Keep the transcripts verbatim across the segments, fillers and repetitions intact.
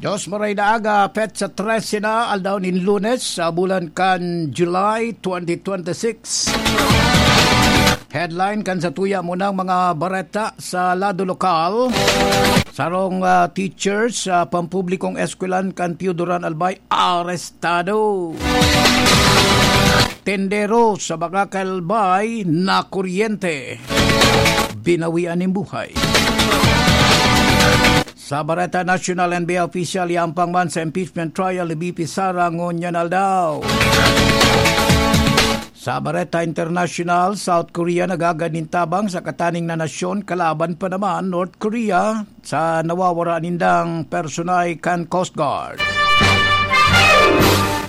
Diyos maray na aga, petsa trese na, aldaw nin Lunes, sa bulan kan July twenty twenty-six. Headline kan sa tuya mo ng mga bareta sa lado lokal. Sarong, ah, teacher sa pampublikong eskwelahan kan Pio Duran Albay, arestado. Tendero sa Bacacay Albay, nakuryente. Binawian nin buhay. Sa Bareta Nasyonal, N B I official, yampang man sa impeachment trial ni V P Sara ngunyan aldaw. Sa Bareta Internasyonal, South Korea nagagad nin tabang sa kataning na nasyon kalaban pa naman North Korea sa nawawara nindang personay kan Coast Guard.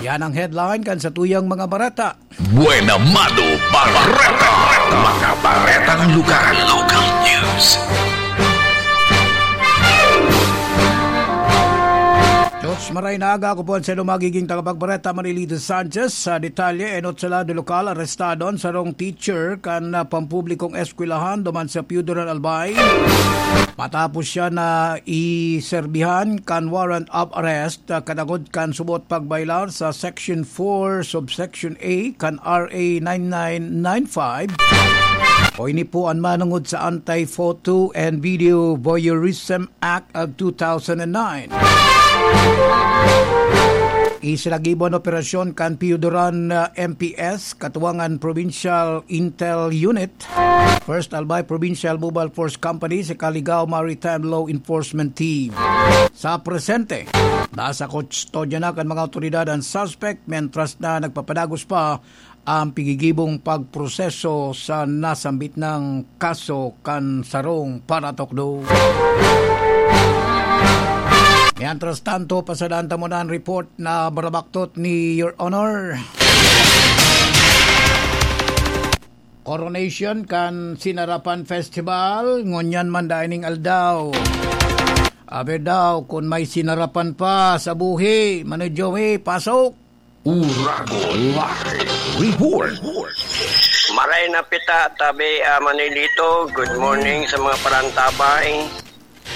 Yan ang headline kan sa tuyang mga bareta. Buena Mano Bareta. Mga baretang lugar. Local news. Diyos maray na aga, ako po ang sino magiging tagapagbareta, Manilito Sanchez. Sa detalye, enot sa lado lokal, arestado ang sarong teacher kan, ah, pampublikong eskwelahan duman sa Pio Duran Albay. Matapos siya na iserbihan kan warrant of arrest, ah, kadagod kan subot pagbaylar sa Section four, Subsection A kan R A nine nine nine five, o ini po an manungod sa Anti-Photo and Video Voyeurism Act of two thousand nine. Isinagibo an operasyon kan Pio Duran, ah, M P S, Katuwangan Provincial Intel Unit, First Albay Provincial Mobile Force Company, sa Kaligao Maritime Law Enforcement Team. Sa presente, nasa kustodya na kan mga awtoridad ang suspect, mentras na nagpapadagos pa ang pigigibong pagproseso sa nasambit nang kaso kan sarong paratukdo. Mientras tanto, pasadaan ta muna ang report na barabaktot ni Your Honor. Coronation kan Sinarapan Festival, ngunyan man dai ning aldaw. Aber daw, kun may sinarapan pa sa buhi, Mano Joey, pasok! Uragon Live Report. Maray na pita, tabi, ah, Manilito. Good morning sa mga parantabay.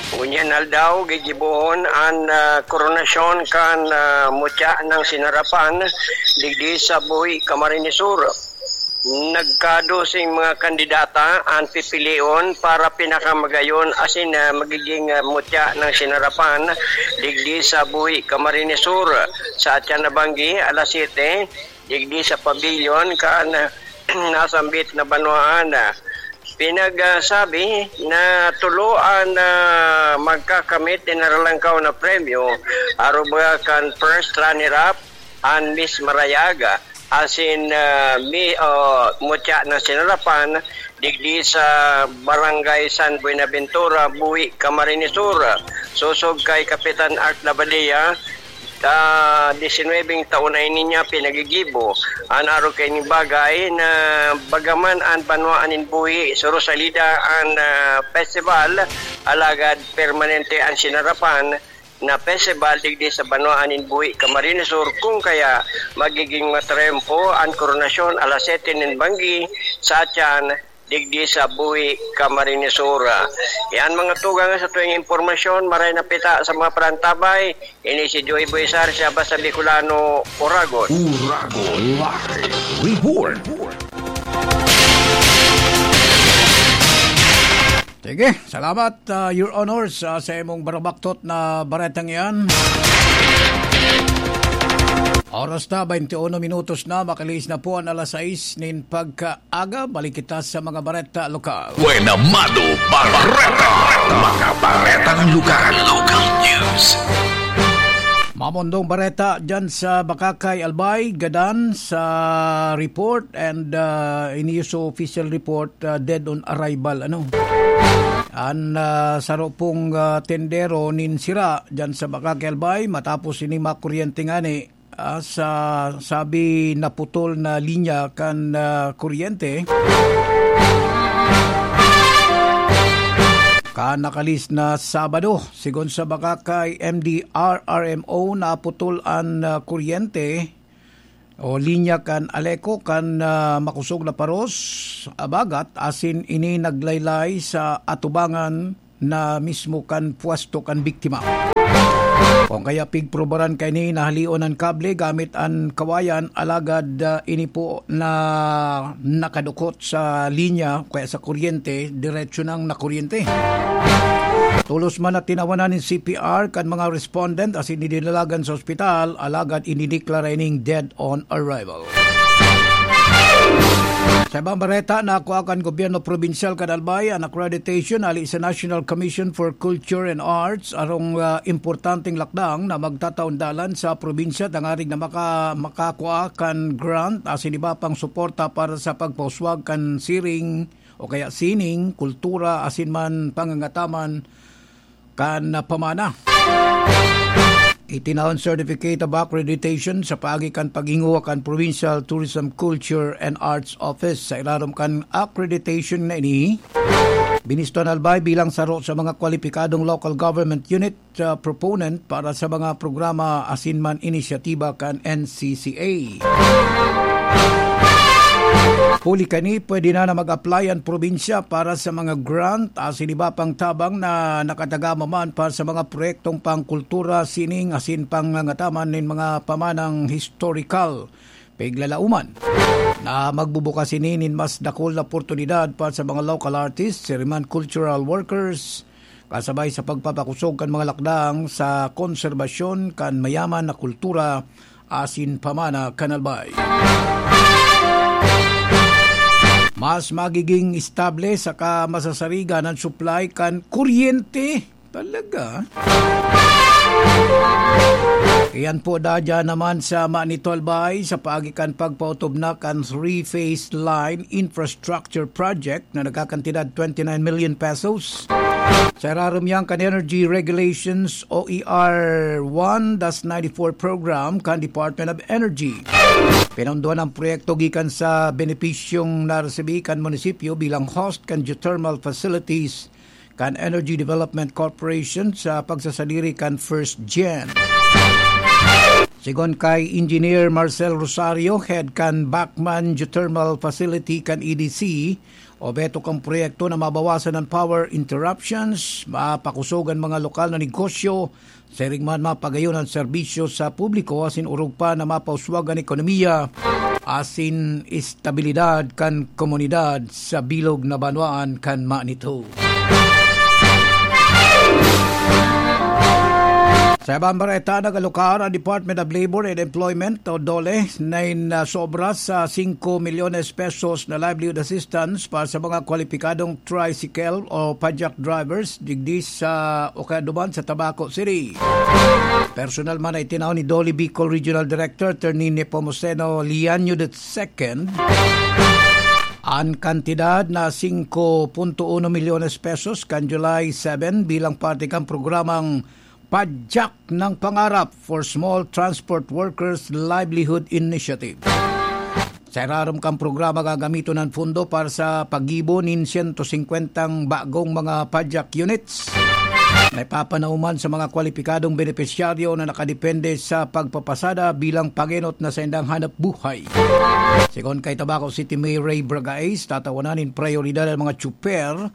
Ngunyan aldaw, gigibohon an, ah, koronasyon kan, ah, mutya ng Sinarapan digdi sa Buhi, Camarines Sur. Nagkadoseng mga kandidata an pipilion para pinakamagayon asin, ah, magiging, ah, mutya ng Sinarapan digdi sa Buhi, Camarines Sur. Sa atyan na banggi, alas siyete, digdi sa pavilion kan, ah, nasambit na banwaan. Pinagsabi na tulo an, ah, magkakamit nin naralangkaw na premyo, aruba kan first runner-up, an Miss Marayag, asin, ah, mi-, ah, mutya na Sinarapan, digdi sa Barangay San Buenaventura, Buhi, Camarines Sur. Sosog kay Kapitan Art Labadea, ta, disinwebeng taon na ini niya pinagigibo an arog kaining bagay na bagaman an banwaan nin Buhi, Suro Salida an, ah, festival, alagad permanente an Sinarapan na festival digdi sa banwaan nin Buhi, Camarines Sur, kung kaya magiging matrempo an koronasyon alas siyete nin banggi sa atyan digdi sa Buhi, Camarines Sur. Yan mga tugang sa tuwing impormasyon, maray na pita sa mga parantabay. Ini si Joey Boy Sar, siya basta Bicolano, Oragon. Uragon Live Report. Sige, salamat, ah, Your Honor, sa, sa imong barabaktot na baretang yan. Oras na, twenty-one minutos na, makalihis na po ang alas sais nin pagkaaga. Balik kita sa mga bareta lokal. Buena Mano Bareta. Mga baretang lugar. Local news. Mamondong bareta dyan sa Bacacay, Albay, gadan sa report and, ah, ini sa official report, ah, dead on arrival, ano. An, ah, saro pong, ah, tendero nin sira dyan sa Bacacay, Albay, matapos ini makuryente ngani, ah, sa sabi naputol na linya kan, ah, kuryente. Kan nakalihis na Sabado, sigon sa Bacacay M D R R M O, naputol an, ah, kuryente o linya kan Aleco kan, ah, makosog na paros, Abagat, asin ini naglaylay sa atubangan na mismo kan pwesto kan biktima. Kung kaya pigprobaran kaini, nahalion an kable gamit an kawayan, alagad, ah, ini po na nakadukot sa linya o kaya sa kuryente, diretso nang nakuryente. Tolos man na tinawanan nin C P R kan mga respondent asin idinalagan sa ospital, alagad inideklara ining dead on arrival. Sa ibang bareta, nakua kan gobyerno probinsyal kan Albay an accreditation hali sa National Commission for Culture and Arts, arong, ah, importanteng lakdang na magtataon dalan sa probinsya tangarig na maka-, makakua kan grant asin iba pang suporta para sa pagpauswag kan siring o kaya sining, kultura asin man pangangataman kan pamana. Itinao an Certificate of Accreditation sa paagi kan paghinguha kan Provincial Tourism, Culture and Arts Office. Sa ilarom kan accreditation na ini, binisto an Albay bilang saro sa mga kwalipikadong local government unit, ah, proponent para sa mga programa asin man inisyatiba kan N C C A. Huli kani, pwede na na mag-apply an probinsya para sa mga grant asin iba pang tabang na nakatagama man para sa mga proyektong pangkultura, sining asin pangangataman nin mga pamanang historical. Piglalauman na magbubukas ini nin mas dakul na oportunidad para sa mga local artists, siriman cultural workers, kasabay sa pagpapakosog kan mga lakdang sa konserbasyon kan mayaman na kultura asin pamana kan Albay. Mas magiging estable saka masasarigan an supply kan kuryente. Talaga? Iyan po, dadya naman sa Manito, Albay, sa paagi kan pagpaotob na kan three-phase line infrastructure project na nagkakantidad twenty-nine million pesos. Sa irarom yan kan Energy Regulations, O E R one dash ninety-four program kan Department of Energy. Pinondohan ang proyekto gikan sa benepisyong naresibi kan munisipyo bilang host kan geothermal facilities kan Energy Development Corporation sa pagsasadiri kan First Gen. Sigon kay Engineer Marcel Rosario, head kan Bacman Geothermal Facility kan E D C, obeto kan proyekto na mabawasan an power interruptions, mapakosog an mga lokal na negosyo, siring man mapagayon an serbisyo sa publiko asin orog pa na mapauswag an ekonomiya asin estabilidad kan komunidad sa bilog na banwaan kan Manito. Sa ibang bareta, nag-alokar ang Department of Labor and Employment o DOLE nin, ah, sobra sa singko milyones pesos na livelihood assistance para sa mga kwalipikadong tricycle o padyak drivers digdi sa o kaya duman sa Tabaco City. Personal man na itinao ni DOLE Bicol Regional Director Attorney Nepomuceno Liaño the second an kantidad na singko punto uno milyones pesos kan July seven bilang parte kan programang Padyak ng Pangarap for Small Transport Workers Livelihood Initiative. Sa irarom kan programa, gagamiton an pondo para sa paggibo nin sento singkwentang bagong mga padyak units na ipapanauman sa mga kwalipikadong benepisyaryo na nakadepende sa pagpapasada bilang pangenot na saindang hanap buhay. Sigon kay Tabaco City Mayor Ray Bragais, tatawanan nin prayoridad ang mga tsuper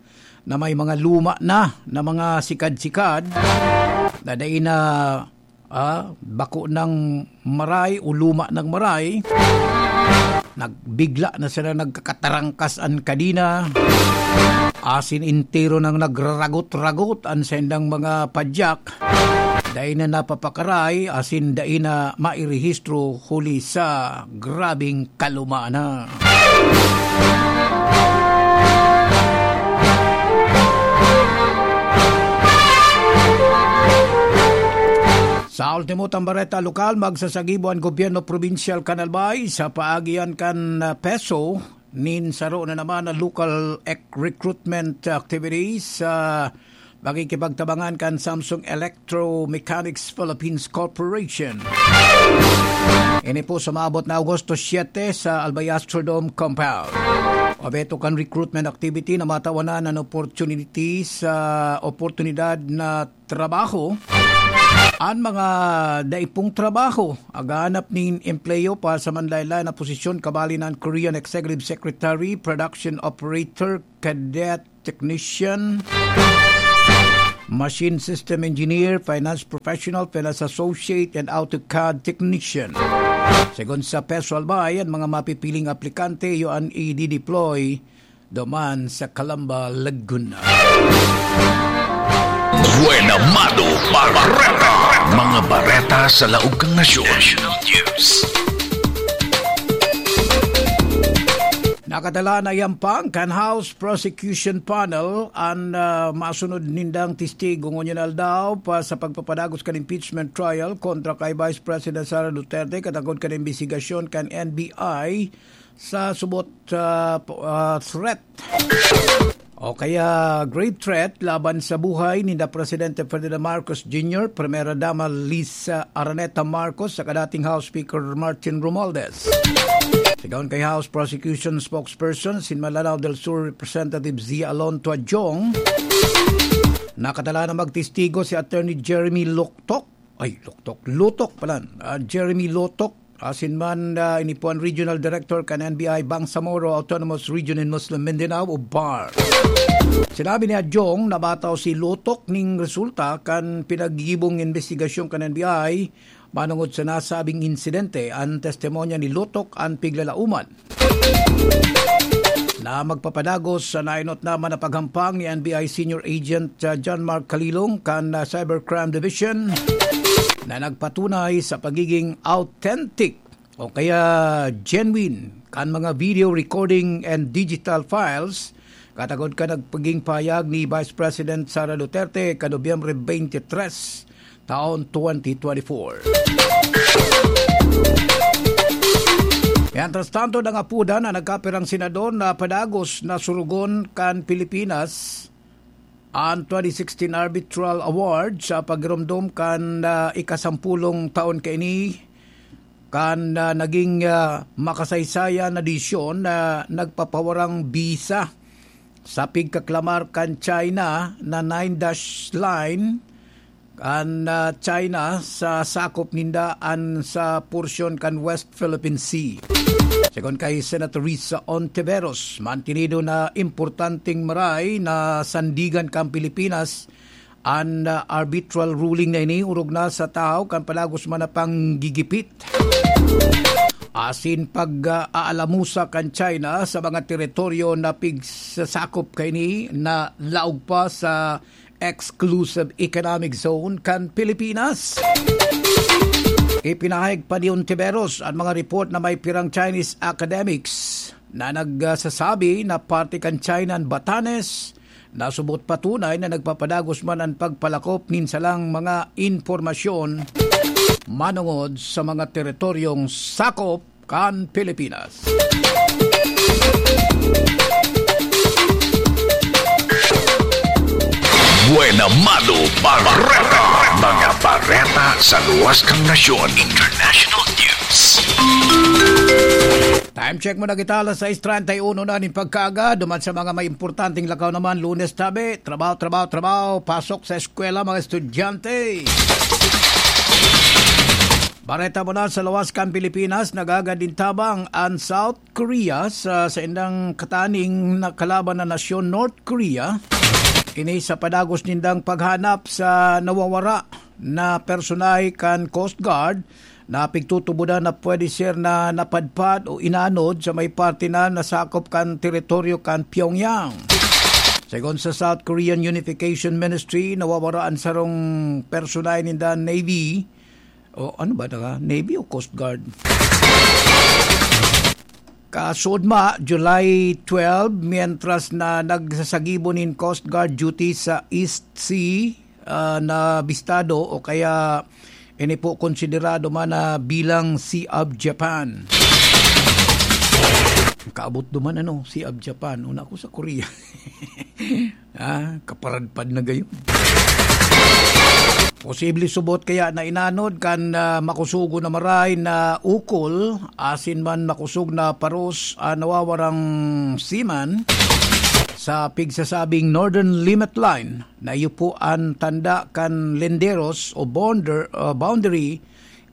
na may mga luma na, na mga sikad-sikad na dai na, ah, bako nang maray o luma nang maray, nagbigla na sila, nagkakatarangkas an kadina, asin entero nang nagraragot-ragot an saindang mga padyak, dai na napapakaray, asin dai na mairehistro huli sa grabing kaluma na. Sa ultimo tang bareta lokal, magsasagibo an gobyerno probinsyal kan Albay sa paagian kan, ah, PESO nin saro na naman na local ec-, recruitment activities sa pakikipagtabangan kan Samsung Electromechanics Philippines Corporation. Ini po sa maabot na Agosto siete sa Albay Astrodome Compound. Obeto kan recruitment activity na matawanan an opportunity sa oportunidad na trabaho. An mga daipong trabaho, aghanap nin empleyo para sa manlaylay na posisyon, kabali na an Korean Executive Secretary, Production Operator, Cadet Technician, machine system engineer, finance professional, finance associate, and AutoCAD technician. Segun sa Petro Albay, an mga mapipiling aplikante iyo an i-deploy duman sa Calamba, Laguna. Buena Mano Bareta. Mga bareta sa laog kan nasyon. National News. Nakatala na iyan pang kan House Prosecution Panel an, ah, masunod nindang testigo ngunyan aldaw pa sa pagpapadagos kan impeachment trial kontra kay Vice President Sara Duterte katakod kan imbestigasyon kan N B I sa subot, ah, p-, ah, threat o kaya grave threat laban sa buhay ninda Presidente Ferdinand Marcos Junior, Primera Dama Liza Araneta Marcos, saka dating House Speaker Martin Romualdez. Sigon kay House Prosecution Spokesperson sin Malanao del Sur Representative Zia Alonto Adjong, nakatala na magtestigo si Attorney Jeremy Loktok, ay, Loktok, Lutok pala, ah, Jeremy Lutok, asin man, ah, ini po an Regional Director kan N B I Bangsamoro Autonomous Region in Muslim Mindanao o BAR. Sinabi ni Adjong na bataw si Lutok ning resulta kan pinaggibong imbestigasyon kan N B I manongod sa nasabing insidente. An testimonya ni Lutok an piglalauman na magpapadagos sa naenot naman na paghampang ni N B I Senior Agent, ah, John Mark Kalilong kan, ah, Cybercrime Division na nagpatunay sa pagiging authentic o kaya genuine kan mga video recording and digital files, katakod kan nagpaging pahayag ni Vice President Sara Duterte kan Nobyembre twenty-three, taon twenty twenty-four. Mientras tanto, nangapodan na nagkapirang senador na padagos na surugon kan Pilipinas an twenty sixteen Arbitral Award sa pagiromdom kan, ah, ikasampulong taon kaini kan, ah, naging, ah, makasaysayan na desisyon na nagpapawarang bisa sa pigkaklamar kan China na Nine Dash Line kan, ah, China sa sakop ninda an sa porsyon kan West Philippine Sea. Segun kay Senator Risa Ontiveros, mantinido na importanteng maray na sandigan kan Pilipinas an, ah, arbitral ruling na ini, orog na sa tahaw kan padagos man na panggigipit asin pag, ah, aalamusa kan China sa mga teritoryo na pigsasakop kaini na laog pa sa Exclusive Economic Zone kan Pilipinas. Ipinahayag pa ni Ontiveros an mga report na may pirang Chinese academics na nagsasabi na parte kan China an Batanes, na subot patunay na nagpapadagos man an pagpalakop nin salang mga impormasyon manongod sa mga teritoryong sakop kan Pilipinas. Buena Mano Bareta. Mga bareta sa luwas kan nasyon. International News. Time check muna kita, alas sais treinta y uno na nin pagkaaga. Duman sa mga may importanteng lakaw naman, Lunes tabi, trabaho, trabaho, trabaho, pasok sa eskwela, mga estudyante. Bareta muna sa luwas kan Pilipinas, nagagad nin tabang an South Korea sa saindang kataning na kalaban na nasyon, North Korea. Ini sa padagos nindang paghanap sa nawawara na personahe kan Coast Guard na pigtutubodan na pwede ser na napadpad o inanod sa may parte na nasakop kan teritoryo kan Pyongyang. Segun sa South Korean Unification Ministry, nawawara an sarong personahe ninda Navy. O ano ba na? Navy o Coast Guard? Kasudma, July twelve, mientras na nagsasagibo nin Coast Guard duty sa East Sea, ah, na bistado o kaya ini po konsiderado man na bilang Sea of Japan. Kaabot duman, ano, Sea of Japan. Una ko sa Korea. Ah, kaparadpad na gayon. Posible subot kaya na inanod kan, ah, makusugo na maray na ukol, asin man makosog na paros, ah, nawawarang seaman sa pigsasabing Northern Limit Line na iyo po an tanda kan linderos o bonder-, ah, boundary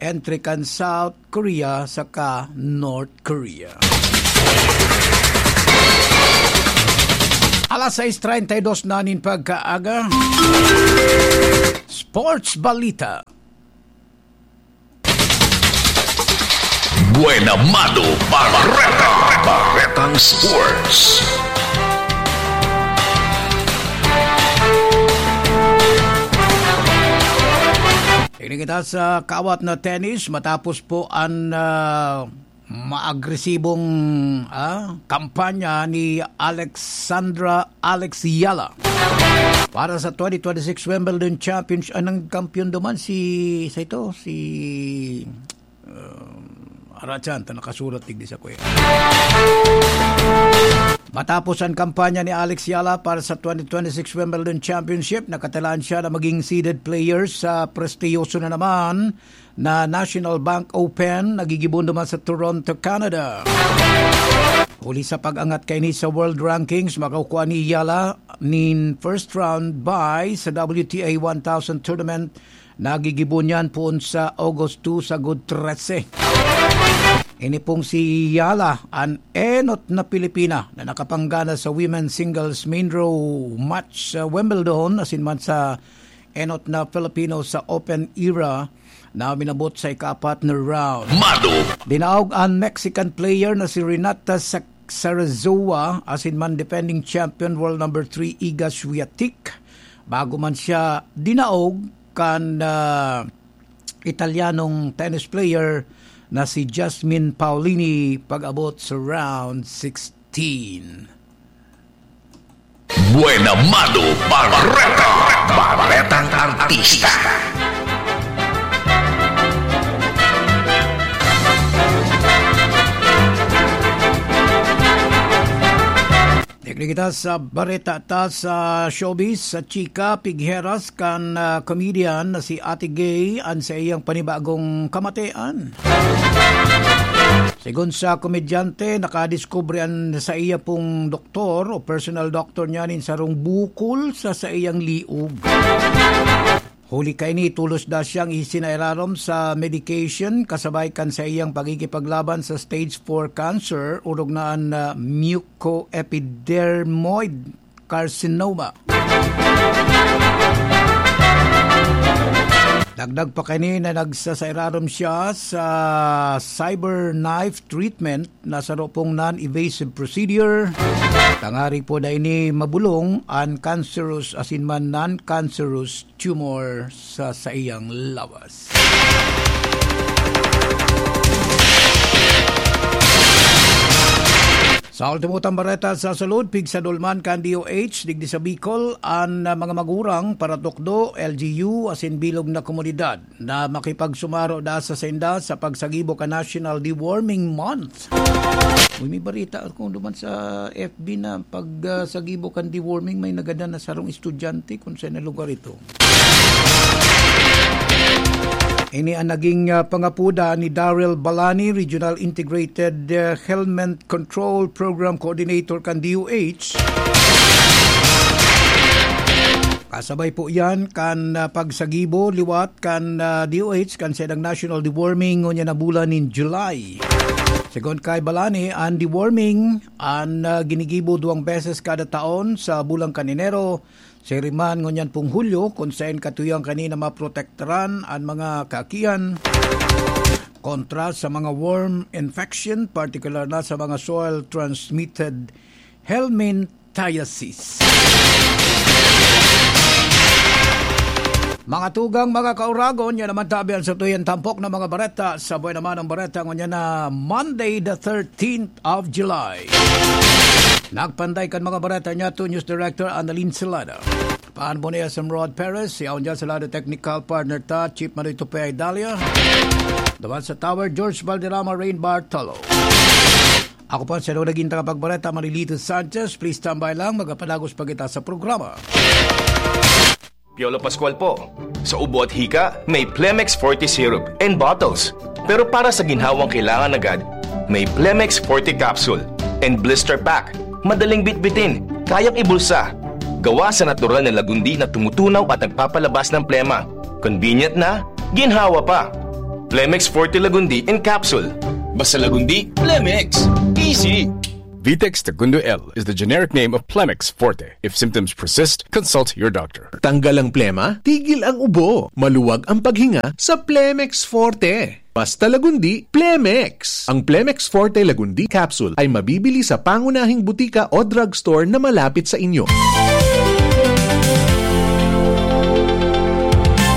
entre kan South Korea saka North Korea. Alas sais treinta y dos na nin pagkaaga. Sports Balita. Buena Mano Barreta. Barretang Sports. Tignan kita sa kawat na tennis matapos po ang, ah, maagresibong, ah, kampanya ni Alexandra Alex Yala para sa twenty twenty-six Wimbledon Championship. Ang kampiyon duman si, sa ito, si, um, Arachan, ta nakasurat digdi sa kuya. Matapos ang kampanya ni Alex Yala para sa twenty twenty-six Wimbledon Championship, nakatalaan siya na maging seeded player sa prestiyoso na naman na National Bank Open, nagigibon naman sa Toronto, Canada. Huli sa pag-angat kaini sa world rankings, makakukua ni Yala nin first round bye sa W T A one thousand tournament. Nagigibon yan poon sa Agosto sagod trese. Ini pong si Yala, an enot na Pilipina na nakapanggana sa women's singles main draw match sa Wimbledon, asin man sa enot na Filipino sa Open era na minabot sa ikaapat na round. Mado. Dinaog an Mexican player na si Renata Sa-, Sarazoa, asin man defending champion world number three Iga Swiatek. Bago man siya dinaog kan, ah, Italianong tennis player na si Jasmine Paolini pag-abot sa round sixteen. Buena Mano Barreta. Barretang Artista. Digdi kita sa bareta ta sa showbiz, sa chika, pigheras kan, ah, comedian na si Ate Gay an sa iyang panibagong kamatian. Segun sa komedyante, nakadiskubre an saiya pong doktor o personal doctor niya nin sarong bukol sa saiyang liog. Huli kaini, tolos daa siyang isinairarom sa medication kasabay kan saiyang pakikipaglaban sa stage four cancer, orog na an, ah, mucoepidermoid carcinoma. Dagdag pa kaini na nagsasairarom siya sa CyberKnife treatment na saro pong non-invasive procedure. Tangarig po na ini mabolong an cancerous asin man non-cancerous tumor sa saiyang lawas. Sa ultimo tang bareta sa salud, pigsadol man kan D O H digdi sa Bicol an, ah, mga magurang, paratukdo, L G U, asin bilog na komunidad na makipagsumaro daa sa sainda sa pagsagibo kan National Deworming Month. Uy, may bareta ako duman sa F B na pag, ah, sagibo kan deworming, may nagadan na sarong estudyante kun saen na lugar ito. Ini ang naging, ah, pangapoda ni Daryl Balani, Regional Integrated, ah, Helminth Control Program Coordinator kan D O H. Kasabay po yan kan, ah, pagsagibo liwat kan, ah, D O H kan saindang National Deworming ngunyan na bulan nin July. Segun kay Balani, an deworming an, ah, ginigibo duwang beses kada taon sa bulan kan Enero, siring man ngunyan pong Hulyo, kun saen katuyohan kaini na maprotektaran an mga kaakian kontra sa mga worm infection, partikular na sa mga soil-transmitted helminthiasis. Mga tugang, mga kauragon, yan naman tabi ang satuyang tampok na mga bareta. Sa buhay naman ang bareta ngunyan na Monday the thirteenth of July. Nagpanday kan mga bareta niya to News Director Annalyn Salada. Paan po ni S M Rod Perez, si Aon Salada, technical partner ta, Chief Manoy Tupay Dalia. Duman sa Tower, George Valderrama, Rain Bartolo. Ako po, si naging tagapagbareta, Marilito Sanchez. Please stand by lang, magapadagos pa kita sa programa. Piolo Pascual po. Sa ubo at hika, may Plemex Forte Syrup and bottles. Pero para sa ginhawang kailangan agad, may Plemex Forte Capsule and Blister Pack. Madaling bitbitin, kayang ibulsa. Gawa sa natural na lagundi na tumutunaw at nagpapalabas ng plema. Convenient na, ginhawa pa. Plemex Forte Lagundi in Capsule. Basta Lagundi, Plemex. Easy! Vitex Segundo L is the generic name of Plemex Forte. If symptoms persist, consult your doctor. Tanggal ang plema, tigil ang ubo, maluwag ang paghinga sa Plemex Forte. Basta Lagundi, Plemex! Ang Plemex Forte Lagundi Capsule ay mabibili sa pangunahing butika o drugstore na malapit sa inyo.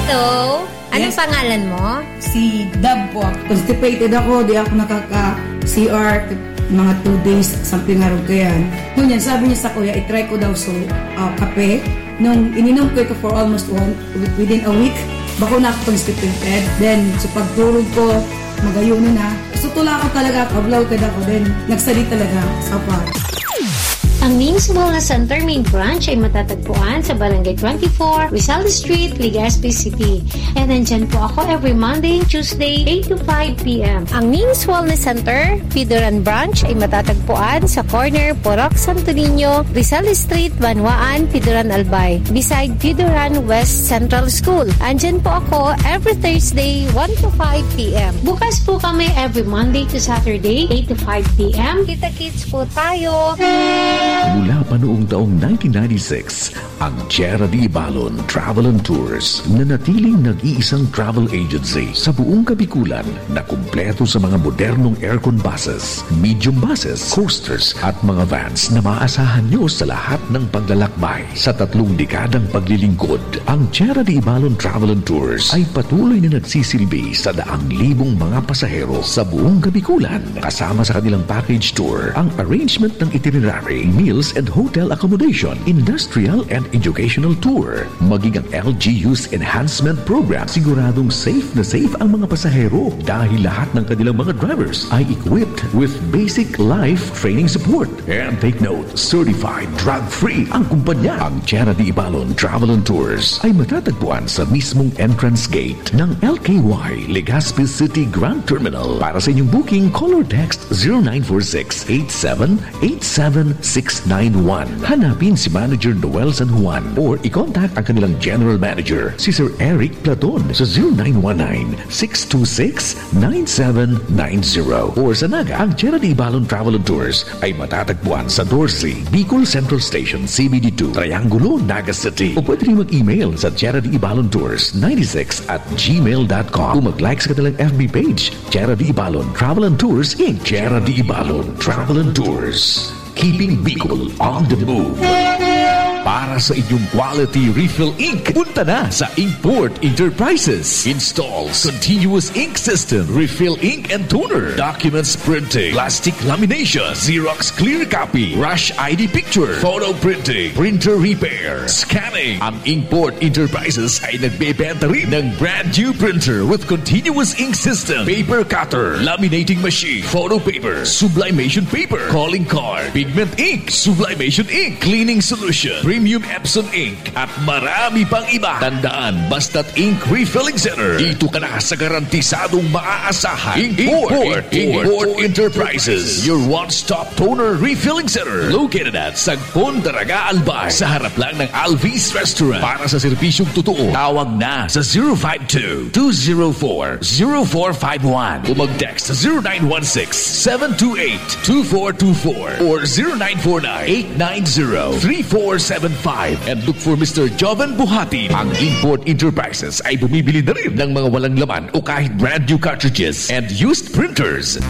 Hello, anong Yes. pangalan mo? Si Dab po. Constipated ako, di ako nakaka-C R, mga two days, something around kayan. Ngunyan, sabi niya sa kuya, itry ko daw so, ah, kape. Nung ininom ko ito for almost one, within a week, bako na ako constipated. Then, sa pagturog ko, magayuno na. So, tula ko talaga, kablaw ka ako. Then, nagsali talaga sa part. Ang Names Wellness Center main branch ay matatagpuan sa Barangay twenty-four, Rizal Street, Legazpi City. And nandyan po ako every Monday and Tuesday, eight to five p.m. Ang Names Wellness Center, Pidoran Branch ay matatagpuan sa corner Purok Santo Niño, Rizal Street, Banwaan, Pidoran Albay, beside Pidoran West Central School. Andyan po ako every Thursday, one to five p.m. Bukas po kami every Monday to Saturday, eight to five p.m. Kita-kits po tayo! Mula pa noong taong nineteen ninety-six, ang Tierra de Ibalon Travel and Tours nanatiling nag-iisang travel agency sa buong Kabikulan na kumpleto sa mga modernong aircon buses, medium buses, coasters at mga vans na maaasahan nyo sa lahat ng paglalakbay. Sa tatlong dekadang paglilingkod, ang Tierra de Ibalon Travel and Tours ay patuloy na nagsisilbi sa daang libong mga pasahero sa buong Kabikulan, kasama sa kanilang package tour, ang arrangement ng itinerary, meals and hotel accommodation, industrial and educational tour, maging ang L G U's enhancement program. Siguradong safe na safe ang mga pasahero dahil lahat ng kanilang mga drivers ay equipped with basic life training support. And take note, certified drug-free ang kumpanya. Ang Tierra de Ibalon Travel and Tours ay matatagpuan sa mismong entrance gate ng L K Y Legazpi City Grand Terminal. Para sa inyong booking, call or text zero nine four six eight seven eight seven six nine one. Hanapin si Manager Noel San Juan or i-contact ang kanilang General Manager, si Sir Eric Platon, sa zero nine one nine six two six nine seven nine zero. Or sa Naga, ang Tierra de Ibalon Travel and Tours ay matatagpuan sa Dorsey, Bicol Central Station, C B D two, Triangulo, Naga City. O pwede rin mag-email sa Tierra de Ibalon Tours ninety-six at gmail dot com o mag-like sa kanilang F B page, Tierra de Ibalon Travel and Tours, Inc. Tierra de Ibalon Travel and Tours. Keeping Bicol on the move. Para sa inyong quality refill ink, punta na sa Inkport Enterprises. Installs continuous ink system, refill ink and toner, documents printing, plastic lamination, Xerox clear copy, rush I D picture, photo printing, printer repair, scanning. Ang Inkport Enterprises ay nagbebenta rin ng brand new printer with continuous ink system, paper cutter, laminating machine, photo paper, sublimation paper, calling card, pigment ink, sublimation ink, cleaning solution, premium Epson ink, at marami pang iba. Tandaan, basta't ink refilling center, dito ka na sa garantisadong maaasahan. Import, Import, Import Enterprises, your one-stop toner refilling center. Located at Sagpon, Daraga, Albay, sa harap lang ng Alvis Restaurant. Para sa serbisyong totoo, tawag na sa zero five two, two zero four, zero four five one. O mag-text sa zero nine one six, seven two eight, two four two four or zero nine four nine, eight nine zero, three four seven five. And look for Mister Joven Buhati. Ang Import Enterprises ay bumibili na rin ng mga walang laman o kahit brand new cartridges and used printers.